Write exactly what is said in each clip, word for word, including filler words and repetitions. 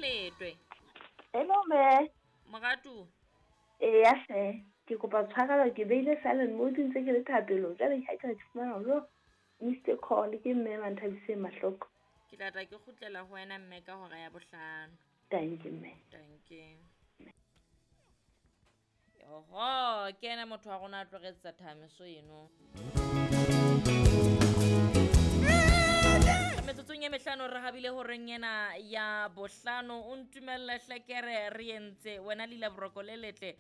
Letwe. Hello mme. Moratu. Eya hle, ke kopa tshwarelo ke beile silent mode ntse ke le thapelong. Jwale ha ke fumana hore missed call ke mme Manthabiseng Mahloko. Ke tla tla ke kgutlela ho wena mme ka hora ya bohlano. Thank you mme. Thank you. Oho, ke ena motho wa rona a tlo re etsetsa thamiso eno. Metsotsong e mehlano re habile horeng ena ya bohlano. O ntumelle hle ke re re entse wena Lila Boroko le letle.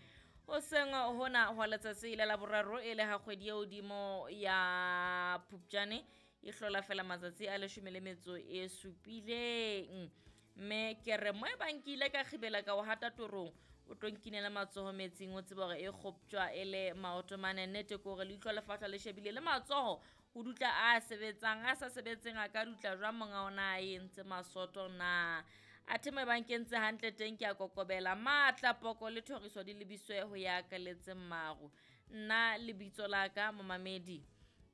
Hoseng hona hwa letsatsi la laboraro e le ha kgwedi e hodimo ya Phupjane e hlola fela matsatsi a leshome le metso e supileng. Mme ke re mo e bang ke ile ka kgibela ka o hata torong, o tlo nkinela matsoho metsing, o tsebe hore e kgoptjwa e le maoto mane. Nnete ke hore leihlo le fahla le shebile le matsoho ho dutla a sebetsang, a sa sebetseng a ka dutla jwang monga ona a entse masoto na. Athe mo e bang ke entse hantle teng ke a kokobela. Matla, poko le thoriso di lebiswe ho ya kaletseng maru. Nna lebitso la ka momamedi,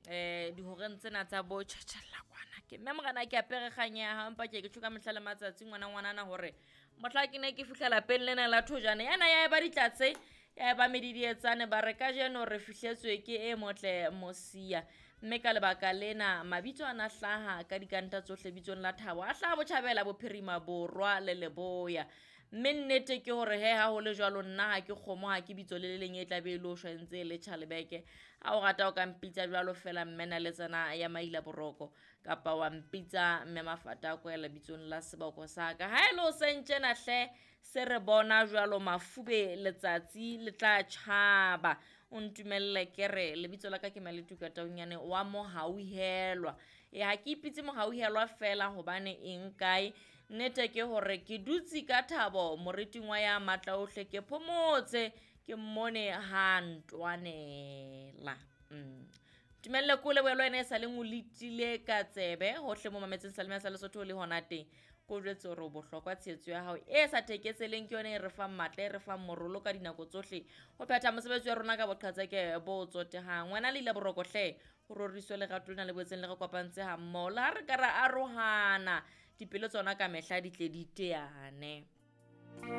eh dihoreng tsena tsa bo tjhatjhella kwana ke mme morena ke apere kganya ya hao, empa ke ke tjho ka mehla le matsatsi ngwana ngwanana hore mohla ke ne ke fihla lapeng lena la thojane yana ya eba ditlatse, ya eba medidietsane, ba re kajeno re fihletswe ke e motle Mosia. Mme ka lebaka lena mabitso ana hlaha ka dikanta tsohle bitsong la Thabo, a hlaha botjhabela, bophirima, borwa le leboya. Mme nnete ke hore he ha ho le jwalo nna ha ke kgomo, ha ke bitso le le leng e tla be e le ho shwa ntse e le tjhalebeke. Ha o rata o ka mpitsa jwalo fela mme na le tsena ya Maila Boroko, kapa wa mpitsa mme Mafata a kwela bitsong la seboko sa ka. Ha e le o sentjena hle se re bona jwalo mafube letsatsi le tla tjhaba. O ntumelle ke re lebitso la ka ke Maletuka Taunyane wa Mohauhelwa. E ha ke ipitse Mohauhelwa fela hobane eng kae. Nnete ke hore ke dutse ka thabo moriting wa ya matla ohle, ke phomotse ke mmone ha ntwanela. Mm. Tumelle ko lebohe le wena e sa leng o letile ka tsebe hohle mo mametseng Salome sa Lesotho le hona teng. Ko jwetse hore o bohlokwa, tshehetso ya hao e sa thekeseleng ke yona e re fang matla, e re fang morolo ka dinako tsohle ho phetha mosebetsi wa rona ka boqhetseke bo tsotehang. Wena Lila Boroko hle, ho roriswe lerato lena le boetseng le re kopantse ha mmoho. Le ha re ka ra arohana, dipelo tsona ka mehla di tle di teane.